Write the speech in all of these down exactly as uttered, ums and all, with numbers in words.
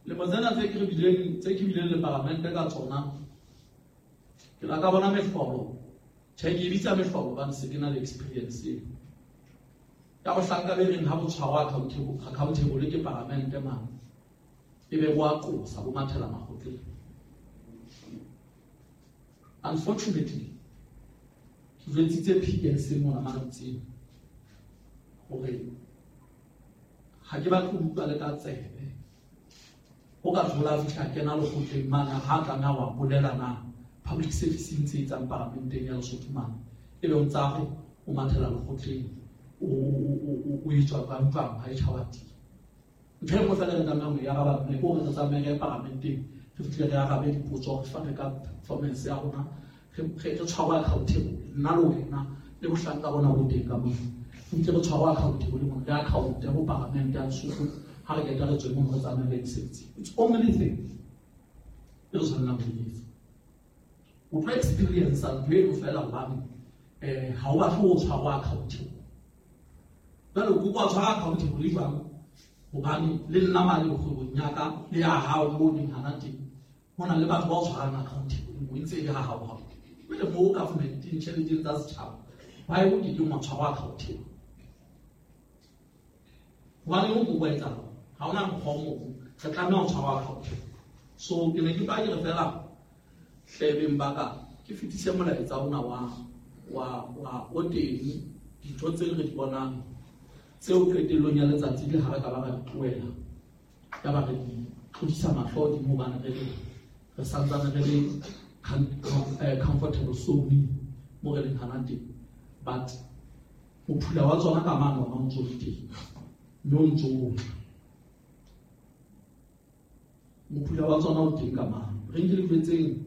Lemo tsena tse ke re bileng tse ke bileng le paramente ka tsona, ke la ka bona mehlolo. Tjhe, ke e bitsa mehlolo hobane se ke na le experience eo. Ya bohlanka be reng ha bo tshwarwa accountable, accountable ke paramente mane, ebe bo a qosa, bo mathela makgotleng. Unfortunately, ke jwetsitse P S mona mantsing hore ha ke batle ho utlwa le ka tsebe. O ka thola a fihla kena lekgotleng mane, ha tlameha wa bolela na public service e ntse e etsang paramenteng ya Lesotho mane, ebe o ntsa re o mathela lekgotleng, o, o, o, o, o etswa jwang jwang, ha e tjhaba teng. Ntho e nngwe feela re tlamehang ho e araba mme ke hore re tsamaye re ye paramenteng, re fihle re arabe dipotso, re fane ka performance ya rona, re, re, re tshwarwe accountable, nna le wena le bohlanka bona bo teng ka mona. Re fihle re tshwarwe accountable mona, re account-e ho paramente ya Lesotho, ha re qeta re tswe mono re tsamaye re ye mesebetsing. It's only thing e re tshwanelang ho e etsa. O tlo experience ntho eno feela hobane, eh, ha o batle ho tshwarwa accountable. Jwale o kopa tshwara accountable jwang? Hobane le nna mane kgwebong ya ka le ya hao moo neng hana teng, ho na le batho ba o tshwarang accountable mo ntse e le ha hao hao. Jwale moo government-eng tjheleteng tsa setjhaba, ba e o ke keng wa tshwarwa accountable. Hobane o kopa etsahala, ha hona mokgwa o mong, re tlameha ho tshwarwa accountable. So ke ne ke ba ke re fela hlebeng ba ka, ke fetise molaetsa ona wa, wa, wa o teng, dintho tse re di bonang tseo qetellong ya letsatsi le ha re ka ba ra di tlohela, ya ba re di tlodisa mahlo hodimo hobane re le, re santsane re le com-, com-, eh, comfortable zone mo re leng hana teng. But mophula wa tsona ka mane ona o ntso le teng, mme o ntso o tla. Mophula wa tsona o teng ka mane. Re nke le jwetseng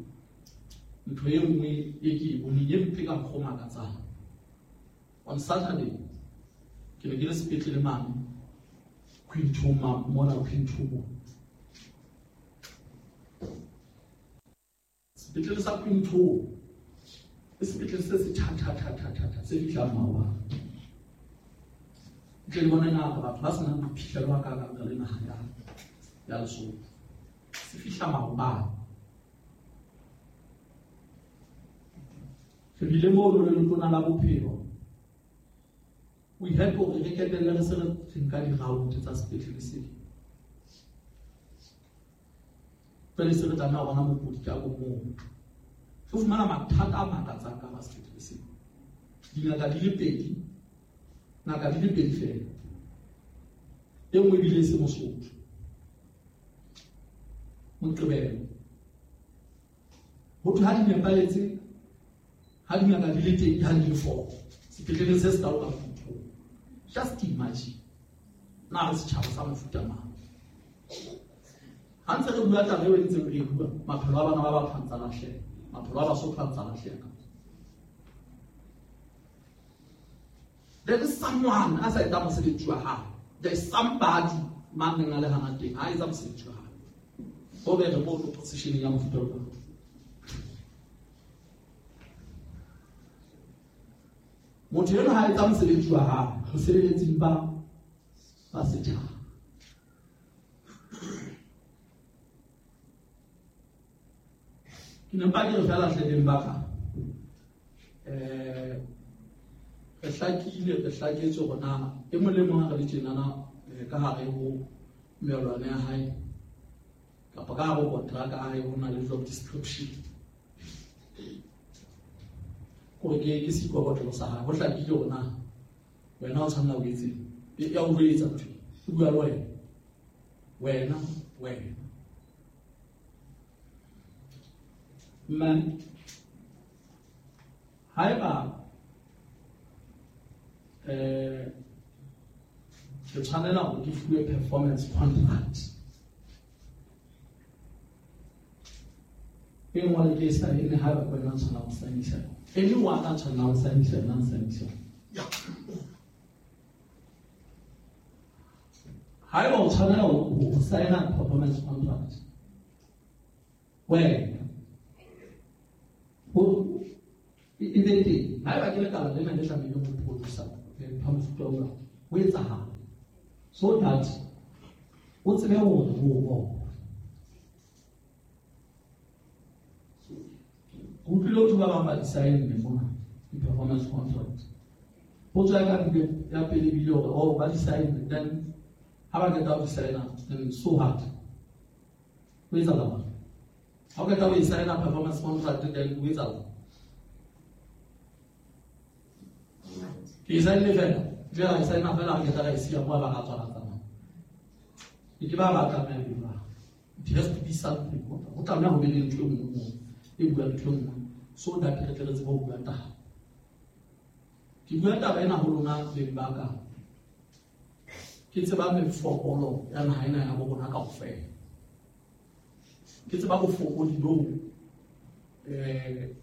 ntho e nngwe e ke e boneng e mpe ka mokgwa o makatsang. On Saturday, ke ne ke le sepetlele mane, Quinton ma-, mona Quinton mo. Sepetlele sa Quinton ke sepetlele se se tjha, tjha, tjha, tjha, tjha, tjha, se fihlang maobane. Ntle le bona ngaka batho ba senang boiphihlelo ba kakang ka le naha ya, ya Lesotho. Se fihla maobane. Re bile moo le letona la bophelo. We had hore re qetelle re se re nka di-round tsa sepetlele seo. Pele se re tlameha ho bona mokudi ka bo mong. Re fumana mathata a makatsang ka hara sepetlele seo. Dingaka di le pedi, ngaka di le pedi feela. E nngwe ebile e se Mosotho. Moqebelo. Ho thwe ha di nepahetse, ha dingaka di le teng, ha di le four. Sepetleleng se se kalo ka Quinton. Just imagine. Na re setjhaba sa mofuta mang? Ha ntse re bua taba eo e ntseng re e bua, maphelo a bana ba batho a ntsa lahleha. Maphelo a Basotho a ntsa lahleha. There is someone a sa etsang mosebetsi wa hae. There is somebody mang neng a le hana teng, ha etsa mosebetsi wa hae. Ho be re mo position ya mofuta o jwalo. Motho enwa ha etsa mosebetsi wa hae, ho sebeletseng ba, ba setjhaba. Ke ne mpa ke re feela hlebeng ba ka, eh, re hlakile, re hlaketswe hore na e mong le mong ha re le tjenana, eh, ka hare ho melwana ya hae, kapa ka hare ho kontraka ya hae, ho na le job description. Hore ke, ke seikokotlelo sa hae, ho hlakile hore na wena o tshwanela ho etseng. E, ya o jwetsa ntho, o bua le wena. Wena, wena. Mme, haeba, eh, ke tshwanela hore ke fuwe performance contract, e nngwe le ke e saene, haeba ke wena o tshwanela ho saenisa yona. Anyone a tshwanelang ho saenisa yona, a saenisa yona. Haeba o tshwanela ho, ho saena performance contract, wena ho e, e be teng. Haeba ke lekala lena le tlamehileng ho producer, eh, ntho ya mofuta ona, ho etsahala. So that o tsebe hore ho bona. Utlwile ho ba bang ba di-sign-ne mona di-performance contract. Potso ya ka bile ya pele bile hore oh ba di-sign-ne, then ha ba qeta ho di-sign-a then so what? Ho etsahala eng? Ha o qeta ho e sign-a performance contract then ho etsahala eng? Ke e sign-ne fela, jwale ra e sign-a fela re qeta ra e siya moo ba ra tswa ra tsamaya. Ke ke ba ba tlameha ho bua. It has to be something. Ho tlameha ho be le ntho e nngwe moo e buang ntho e nngwe so that re tle re tsebe ho bua taba. Ke bua taba ena ho lona beng ba ka. Ke tseba mefokolo ya naha ena ya bo rona kaofela. Ke tseba bofokodi boo eh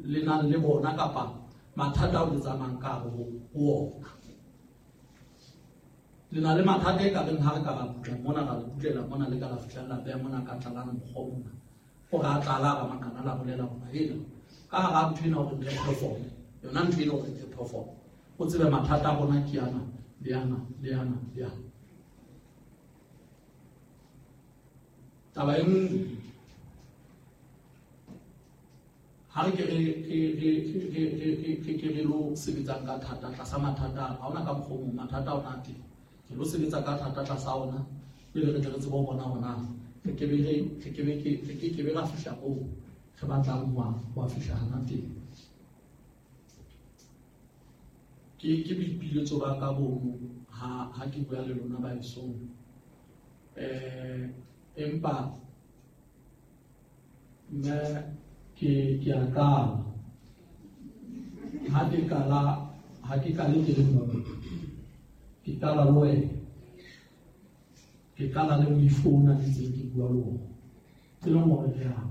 le nang le bona kapa mathata ao le tsamayang ka hare ho ona. Le na le mathata e ka reng ha re ka ra butla mona ra le butlela mona le ka la fihla la beha mona ka tlalana mokgwa ona. Hore a tlala ba makana la bolela hore ena ka hara ntho ena hore re perform. Yona ntho ena hore re perform. O tsebe mathata a rona ke ana le ana le ana le ana. Taba e nngwe ha re ke re re re re re re ke re lo sebetsang ka thata tlasa mathata ha hona ka mokgwa o mong mathata ona a teng. Re lo sebetsa ka thata tlasa ona pele re tle re tsebe ho bona hore na re ke be re re ke be ke re ke ke be ra fihla moo re batlang ho ho fihla hana teng. Ke ke boipiletso ba ka bono ha ha ke bua le lona ba esong. Eh empa mme ke ke a qala. Ha ke qala ha ke qale ke le mong. Ke qala le wena. Ke qala le moifo ona ke ntseng ke bua le wona. Ke leng hore re a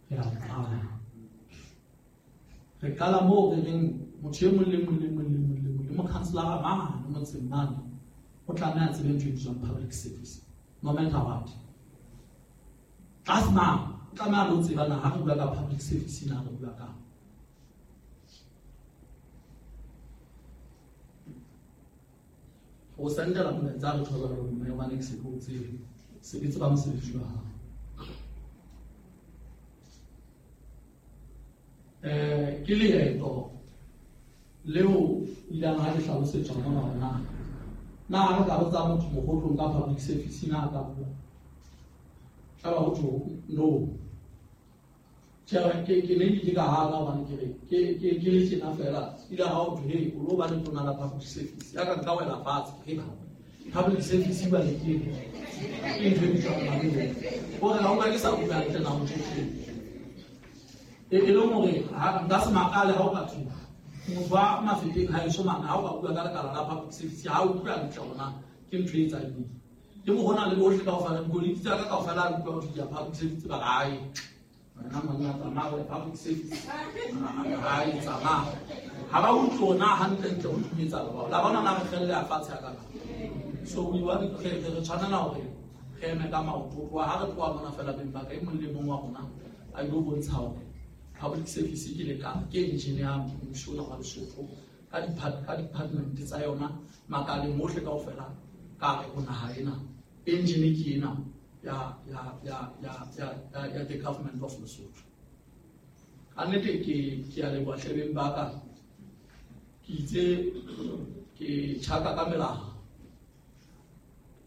re a qala. Re qala moo re reng motho e mong le mong le mong le mong le mong le mokhanselara mane motseng mane o tlameha a tsebe ntho e bitswang public service no matter what. Tlase mang o tlameha le ho tseba na ha re bua ka public service na re bua ka. O sendela molaetsa re thola hore mme hobane ke se ke o tsebe se ke tseba mosebetsi wa hao. Eh ke leeto leo ileng ha le hlalosetswa mona hore na na ha re ka botsa motho mohotlong ka public service na ka bua. Tla ba ho tjho no. Tjhe ke ke ne ke ka hana hobane ke re ke ke ke le tjena fela ile ha o tjho hey o lo ba le tona la public service ya ka nka wela fatshe ke ba public service ba le ke ke ntho e bitswang mang hore ha o ka ke sa bua hantle na motho tjhe e e le hore ha nka se makale ha o ka tjho motho wa Mafeteng ha eso mane ha o ka bua ka lekala la public service ha o utlwa hantle hore na ke ntho e etsang eng. Ke mo hona le bohle kaofela dikoloi tsa ka kaofela re utlwa ho di public service ba hae. Wena monna tsamaya ho public service hae tsamaya. Ha ba utlwe na hantle ntle ho thumetsa ba. La bona na re kgelle ya fatshe ya ka. So we want re re tshwanela hore re eme ka maoto tloha ha re tloha mona fela beng ba ka e mong le mong wa rona a ilo bontsha hore public service ke lekala ke engine ya mmuso ona wa Lesotho ka ka department tsa yona makaleng ohle kaofela ka re ho naha ena engine ke ena ya ya ya ya ya ya the government of Lesotho. Ka nnete ke ke a leboha hlebeng ba ka ke itse ke tjhaka ka melao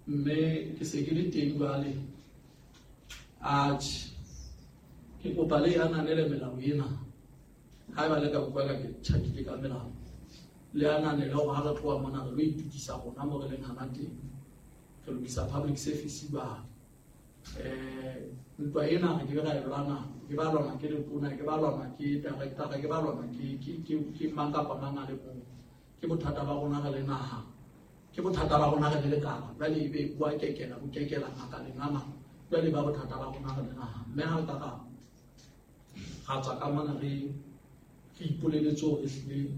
mme ke se ke le teng jwale. Atjhe ke kopa le ananele melao ena haeba le ka bua ka ke tjhakile ka melao le ananele hore ha re tloha mona re lo itokisa rona mo re leng hana teng re lokisa public service ba eh ntwa ena ke ra e lwana ke ba lwana ke letona ke ba lwana ke director ke ba lwana ke ke ke ke mang kapa mang a le mong. Ke bothata ba rona re le naha ke bothata ba rona re le lekala jwale ebe bua kekela bo kekela makaleng a mang jwale ba bothata ba rona re le naha mme ha re ka ra ra tswa ka mona re re ipoleletse hore ehlile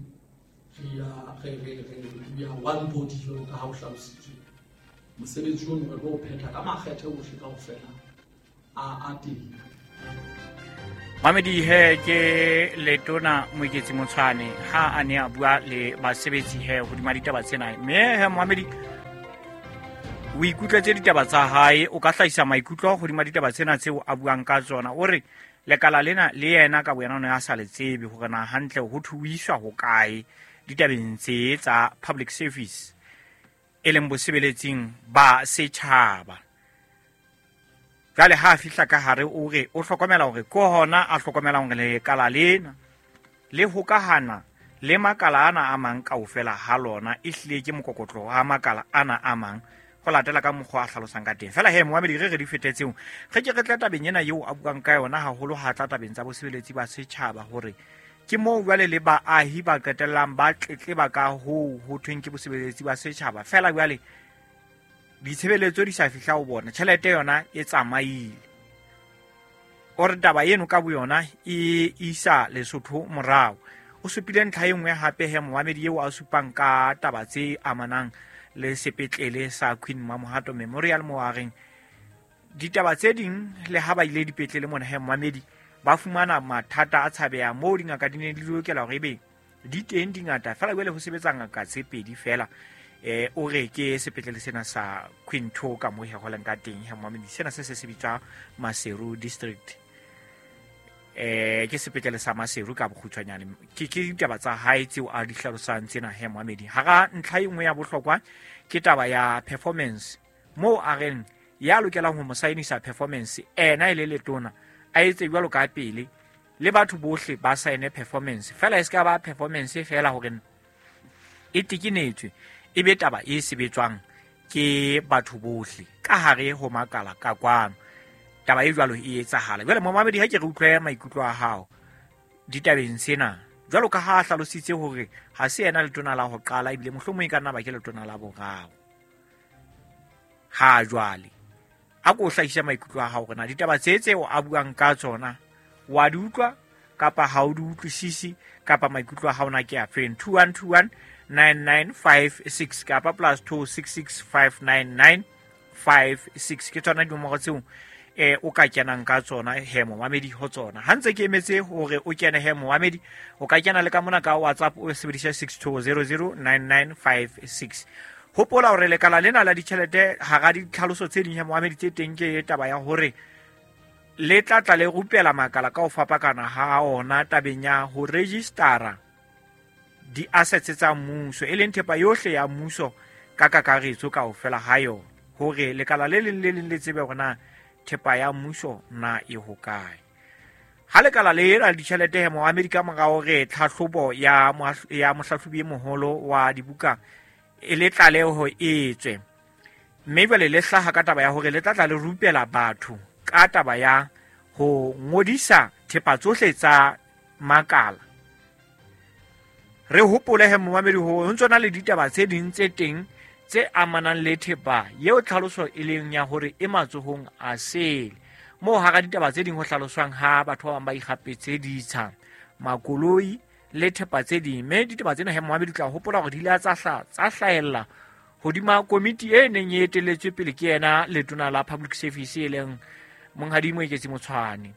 re a re re re we are one body jwalo ka ha ho hlalositswe. Mosebetsi ono re tlo o phetha ka makgethe ohle kaofela a a teng. Mamedi he ke letona Moeketsi Motshwane ha a ne a bua le basebetsi he hodima ditaba tsena mme he Mohamedi o ikutlwetse ditaba tsa hae o ka hlahisa maikutlo hodima ditaba tsena tseo a buang ka tsona o re Lekala lena le yena ka boyena o ne a sa le tsebe hore na hantle ho thuiswa ho kae ditabeng tse tsa public service e leng bosebeletsing ba setjhaba. Jwale ha a fihla ka hare o re o hlokomela hore ke hona a hlokomelang hore lekala lena le hokahana le makala ana a mang kaofela ha lona e hlile ke mokokotlo wa makala ana a mang ho latela ka mokgwa a hlalosang ka teng. Fela he moamedi re re di fetetseng re ke re tla tabeng ena eo a buang ka yona haholo ha tla tabeng tsa bosebeletsi ba setjhaba hore ke moo jwale le baahi ba qetellang ba tletleba ka hoo ho thweng ke bosebeletsi ba setjhaba. Fela jwale ditshebeletso di sa fihla ho bona, tjhelete yona e tsamaile. O re taba eno ka boyona e isa Lesotho morao. O supile ntlha e nngwe hape he moamedi eo a supang ka taba tse amanang le sepetlele sa Queen Mamohato Memorial mo a reng ditaba tse ding le ha ba ile dipetlele mona he moamedi ba fumana mathata a tshabeha moo dingaka di ne di lokela hore ebe di teng dingata fela jwale ho sebetsa ngaka tse pedi fela. Eh o re ke sepetlele sena sa Queen Two ka mo he holeng ka teng he moamedi sena se se se bitswa Maseru District. Eh ke sepetlele sa Maseru ka bokgutshwanyane. Ke ke ditaba tsa hae tseo a di hlalosang tsena he moamedi. Hara ntlha e nngwe ya bohlokwa ke taba ya performance moo a reng ya lokelang ho mo saenisa performance ena e le letona a etse jwalo ka pele le batho bohle ba saene performance fela e se ka ba performance fela hore e tekenetswe e be taba e sebetswang ke batho bohle ka hare ho makala ka kwano. Taba e jwalo e etsahala. Jwale momamedi ha ke re utlwe maikutlo a hao ditabeng tsena jwalo ka ha a hlalositse hore ha se yena letona la ho qala ebile mohlomong e ka nna ba ke letona la boraro ha jwale. A ko hlahisa maikutlo a hao hore na ditaba tse tseo a buang ka tsona wa di utlwa kapa ha o di utlwisisi kapa maikutlo a hao na ke a feng. Two one two one nine nine five six kapa plus two six six five nine nine five six ke tsona dinomoro tseo eh o ka kenang ka tsona he momamedi ho tsona. Ha ntse ke emetse hore o kene he momamedi o ka kena le ka mona ka WhatsApp o sebedisa six two zero zero nine nine five six. Hopola hore lekala lena la ditjhelete hara ditlhaloso tse ding he momamedi tse teng ke taba ya hore le tla tla le rupela makala ka ho fapakana ha ona tabeng ya ho registera di-assets tsa mmuso e leng thepa yohle ya mmuso ka kakaretso kaofela ha yona hore lekala le leng le leng le tsebe hore na thepa ya mmuso na e hokae. Ha lekala le la ditjhelete he moamedi ka mora hore tlhahlobo ya ya mohlahlobi e moholo wa dibuka e le tlaleho e tswe mme jwale le hlaha ka taba ya hore le tla tla le rupela batho ka taba ya ho ngodisa thepa tsohle tsa makala. Re hopole he momamedi ho ntso na le ditaba tse ding tse teng tse amanang le thepa eo tlhaloso e leng ya hore e matsohong a sele moo hara ditaba tse ding ho hlaloswang ha batho ba bang ba ikgapetse ditsha makoloi le thepa tse ding. Mme ditaba tsena he momamedi tla hopola hore di ile tsa hla tsa hlahella hodima komiti e neng e etelletswe pele ke yena letona la public service e leng Monghadi Moeketsi Motshwane.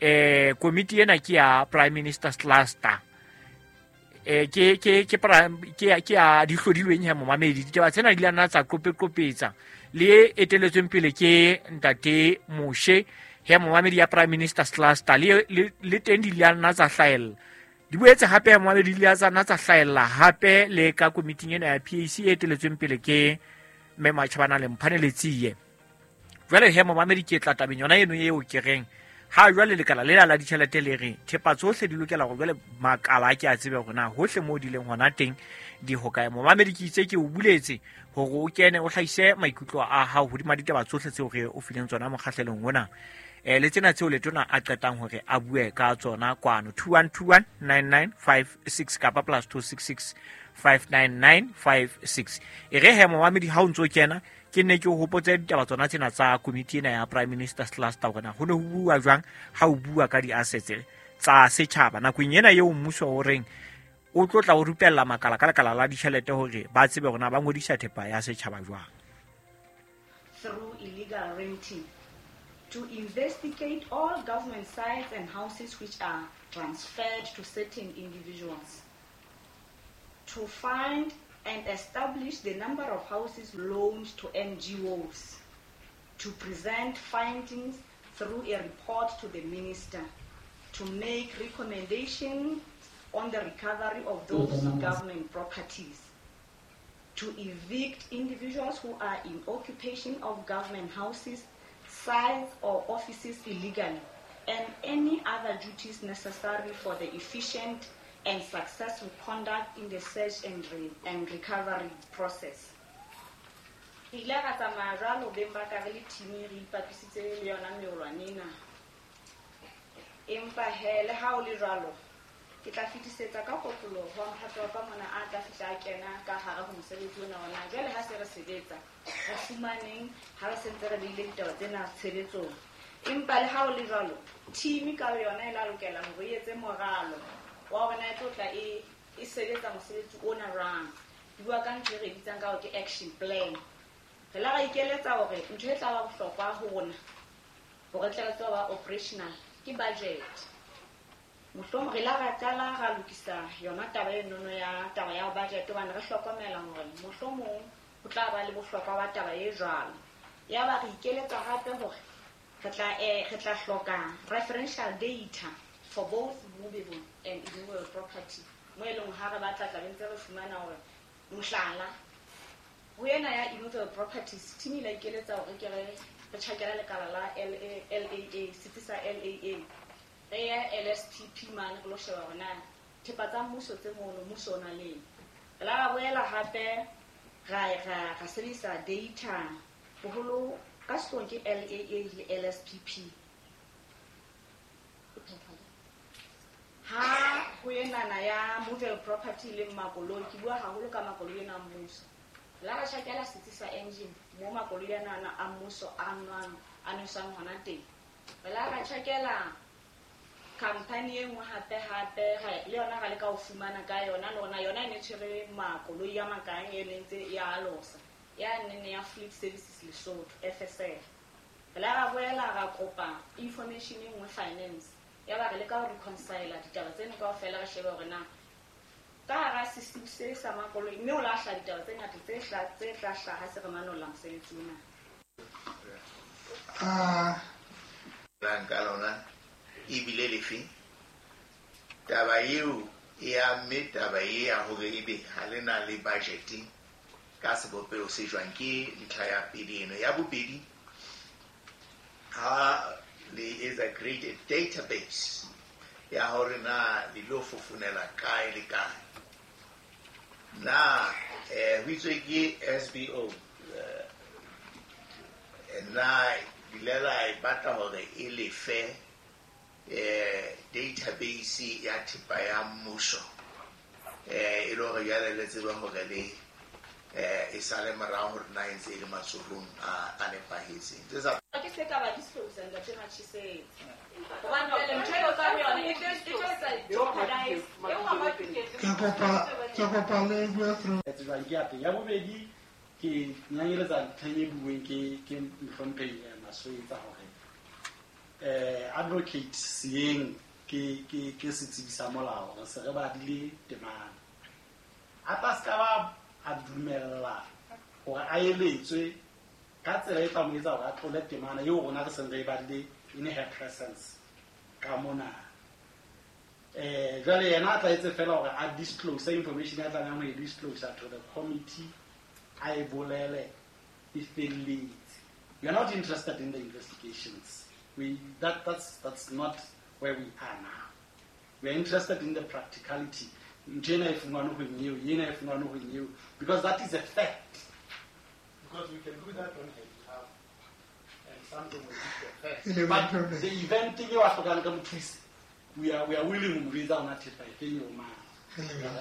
Eh komiti ena ke ya Prime Minister's Cluster eh ke ke ke ke ke a di hlodilweng he momamedi. Ditaba tsena di la nna tsa qopeqopetsa le etelletsweng pele ke ntate Moshe he momamedi ya Prime Minister's Cluster le le teng di la nna tsa hlahella. Di boetse hape momamedi di la tsa nna tsa hlahella hape le ka komiting ena ya P A C e etelletsweng pele ke mme Matjhabana le Mphane Letsie. Jwale he momamedi ke tla tabeng yona eno eo ke reng ha jwale lekala lela la ditjhelete le re thepa tsohle di lokela hore jwale makala a ke a tsebe hore na hohle moo di leng hona teng di hokae. Momamedi ke itse ke o buletse hore o kene o hlahise maikutlo a hao hodima ditaba tsohle tseo re o fileng tsona mokgahlelong ona eh le tsena tseo letona a qetang hore a bue ka tsona kwano two one two one nine nine five six kapa plus two six six five nine nine five six. E re he momamedi ha o ntso kena ke nne ke o hopotse ditaba tsona tsena tsa komiti ena ya Prime Minister's Cluster hore na ho ne ho bua jwang ha o bua ka di-assets tsa setjhaba nakong ena eo mmuso o reng o tlo tla o rupella makala ka lekala la ditjhelete hore ba tsebe hore na ba ngodisa thepa ya setjhaba jwang. Through illegal renting, to investigate all government sites and houses which are transferred to certain individuals, to find and establish the number of houses loaned to N G Os, to present findings through a report to the minister, to make recommendations on the recovery of those government properties, to evict individuals who are in occupation of government houses, sites or offices illegally, and any other duties necessary for the efficient and successful conduct in the search and, re and recovery process. Re ile ra tsamaya jwalo beng ba ka re le team re ipapisitse le yona meolwane ena. Empa he le ha o le jwalo, ke tla fetisetsa ka kotloloho ho mphato wa ka mona a tla fihla a kena ka hare ho mosebetsi ona wa na. Jwale ha se re sebetsa, re fumaneng ha re sentse re beile ditaba tsena tshebetsong. Empa le ha o le jwalo, team ka yona e la lokela hore e etse moralo wa hore na e tlo tla e e sebetsa mosebetsi ona jwang. Di bua ka ntho e re bitsang ka hore ke action plan. Re la ra ikeletsa hore ntho e tla ba bohlokwa ho rona hore tle re tsebe ba operational ke budget. Mohlomong re la ra qala ra lokisa yona taba e nono ya taba ya budget hobane re hlokomela hore mohlomong ho tla ba le bohlokwa ba taba e jwalo. Ya ba re ikeletsa hape hore re tla eh re tla hloka referential data for both movable and immovable property. Mo e leng ha re batla tla be ntse re fumana hore mohlala ho ena ya immovable properties team ile ikeletsa hore ke re re tjhakela lekala la L A A setsi sa L A A re ya L S P P mane re lo sheba hore na thepa tsa mmuso tse mono mmuso o na leng. Re la ra boela hape ra ra ra sebedisa data boholo ka sehloohong ke L A A le L S P P. Ha ho enana ya movable property le makoloi, ke bua haholo ka makoloi ena a mmuso. La ra tjhakela setsi sa engine mo makoloi ana a mmuso a nwang a nweswang hona teng. Re la ra tjhakela company e nngwe hape hape le yona ra leka ho fumana ka yona le yona yona e ne tshwere makoloi a makae e ne ntse ya alosa ya nene ya Fleet Services Lesotho F S L. Re la ra boela ra kopa information e nngwe finance ya ba re leka ho reconcile ditaba tseno kaofela re shebe hore na ka hara system se sa makoloi mme o lahla ditaba tse ngata tse hla tse tla hlaha se re manolla mosebetsi ona. Ah ka lona ebile lefe taba eo e amme taba e ya hore ebe ha le na le budget ka sebopeho se jwang ke ntlha ya pele eno. Ya bobedi, ha le etsa create a database ya hore na le lo fofonela kae le kae na eh ho itswe ke S B O eh, na ile la e batla hore e lefe eh database ya thepa ya mmuso eh e le hore jwale le tsebe hore le eh e sale morao hore na e ntse e le matsohong a a nepahetseng. Tse sa ke se ka ba disclose ntate Matjisetse. Hobane pele ntho eo ka yona e tlo e tlo etsa jeopardize. Ke kopa ke kopa le bue through. Tsejwang ke ya teng. Ya bobedi ke nyanyeletsa ntlheng e bueng ke ke mohlomphehi Maswetsa hore eh advocate Sieng ke ke ke setsebi sa molao re se re badile temana. A tla ska ba a dumella hore a eletswe ka tsela e tla mo etsa hore a tlole temana eo rona re seng re e badile in her presence ka mona. Eh jwale yena a tla etse fela hore a disclose information ya tlamehang ho e disclose to the committee, a e bolele e felletse. We are not interested in the investigations. We that that's that's not where we are now. We are interested in the practicality. Ntho ena e fumanwe ho eo, ena e fumanwe ho eo, because that is a fact. Because we can do that on her behalf, and something will be the fact. But the event eo a hlokang ka mothusi, we are we are willing ho mo jwetsa hona thepa e feng eo mang.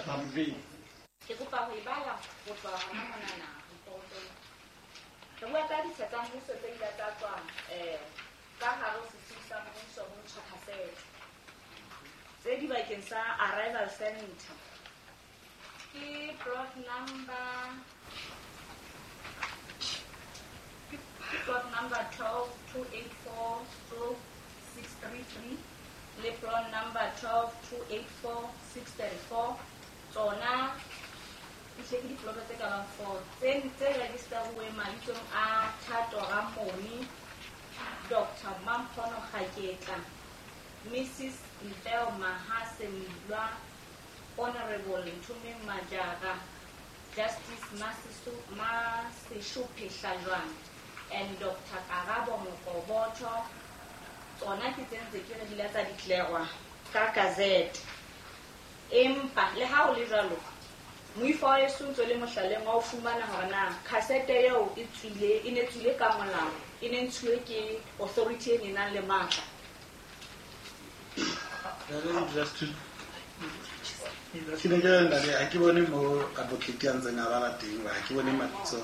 Ra mo jwetsa. Ke kopa ho e bala ho tloha hona monana reportong. Re bua ka ditsha tsa mmuso tse ile tsa tswa eh ka hare ho setsi sa mmuso ho ntshwa cassette tse dibakeng sa arrival center. Ke plot number ke plot number twelve two eight four stroke six three three le plot number twelve two eight four six thirty four. Tsona e ke diploto tse ka bang four tse tse registeruweng mabitsong a Thato Ramoni, Doctor Doctor Mamphono Kgaketla, Missus Mpeo Mahase Milwa, Honorable Nthumeng Majara, Justice Maseshupi Hlajwane, and Doctor Karabo Mokoboto. Tsona ke tse ntse ke re di la tsa declare ka gazette. Empa le ha o le jwalo, moifo wa heso ntso le mohlaleng wa ho fumana hore na cassette eo e tswile, e ne tswile ka molao, e ne ntshuwe ke authority e ne nang le matla. Ke ne ke re ntate, ha ke bone mo advocate a ntseng a bala teng, ha ke bone mabitso.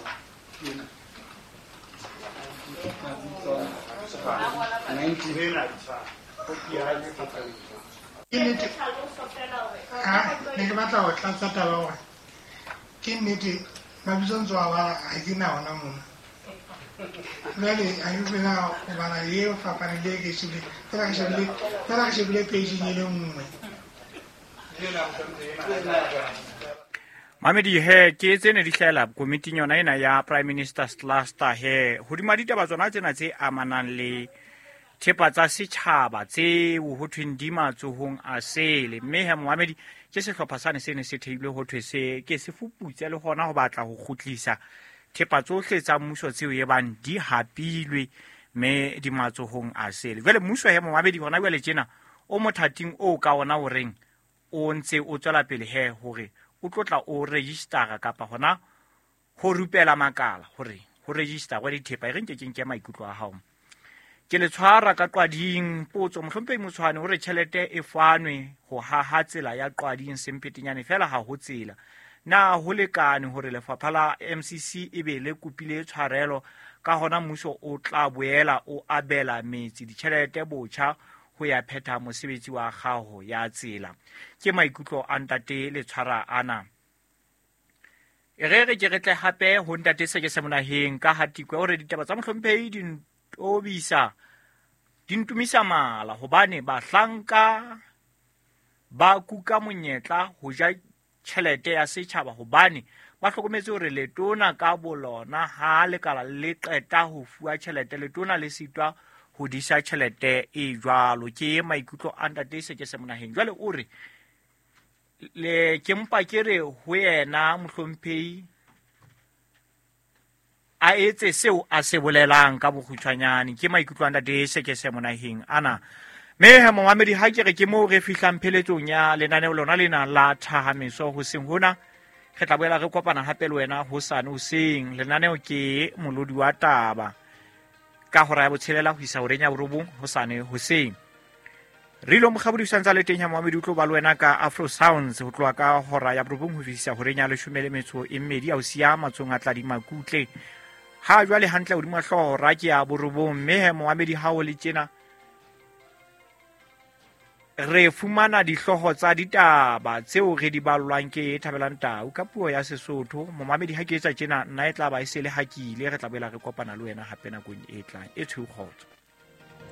Ke nnete, ne ke batla ho tlatsa taba hore ke nnete mabitso ntso a bala ha ke na ona mona. Jwale ha ke tsebe na ho bala eo fapaneng le e ke shebile, fela ke shebile, fela ke shebile page-ing e le nngwe. Mamedi he ke tse ne di hlahela komiting yona ena ya Prime Minister's Cluster he hodima ditaba tsona tsena tse amanang le thepa tsa setjhaba tseo ho thweng di matsohong a sele. Mme he momamedi ke sehlopha sane se ne se theilwe ho thwe se ke se fuputse le hona ho batla ho kgutlisa thepa tsohle tsa mmuso tseo e bang di hapilwe mme di matsohong a sele. Jwale mmuso he momamedi hona jwale tjena o mothating o ka ona o reng o ntse o tswela pele he hore o tlotla o registera kapa hona ho rupela makala hore ho register wa dithepa e re nke ke nke maikutlo a hao. Ke le tshwara ka Qwading potso mohlomphehi Motshwane hore tjhelete e fanwe ho haha tsela ya Qwading Sempetenyane fela ha ho tsela. Na ho lekane hore lefapha la M C C e be le kopile tshwarelo ka hona mmuso o tla boela o abela metsi ditjhelete botjha ho ya phetha mosebetsi wa kgaho ya tsela. Ke maikutlo a ntate le tshwara ana. E re re ke re tle hape ho ntate Sekese Monaheng ka Hatikwe hore ditaba tsa mohlomphehi di ntobisa di ntumisa mala hobane bahlanka ba kuka monyetla ho ja tjhelete ya setjhaba hobane ba hlokometse hore letona ka bolona ha lekala le qeta ho fuwa tjhelete letona le sitwa ho disa tjhelete e jwalo. Ke maikutlo a ntate Sekese Monaheng. Jwale o re le ke mpa ke re ho yena mohlomphehi a etse seo a se bolelang ka bokgutshwanyane. Ke maikutlo a ntate Sekese Monaheng ana. Mme he momamedi ha ke re ke moo re fihlang pheletsong ya lenaneo lona lena la Thahameso hoseng hona. Re tla boela re kopana hape le wena hosane hoseng. Lenaneo ke Molodi wa Taba ka hora ya botshelela ho isa horeng ya borobong hosane hoseng. Rilo Mokgabodi o santse a le teng ha momamedi o tlo ba le wena ka Afro Sounds ho tloha ka hora ya borobong ho fihla horeng ya leshome le metso e mmedi a o siya matsohong a Tladi Makutle. Ha jwale hantle hodima hlooho hora ke ya borobong. Mme he momamedi ha o le tjena re fumana dihlooho tsa ditaba tseo re di ballwang ke Thabelang Tau ka puo ya Sesotho. Momamedi ha ke etsa tjena nna e tla ba e se le hakile. Re tla boela re kopana le wena hape nakong e tlang. E tshweu kgotso.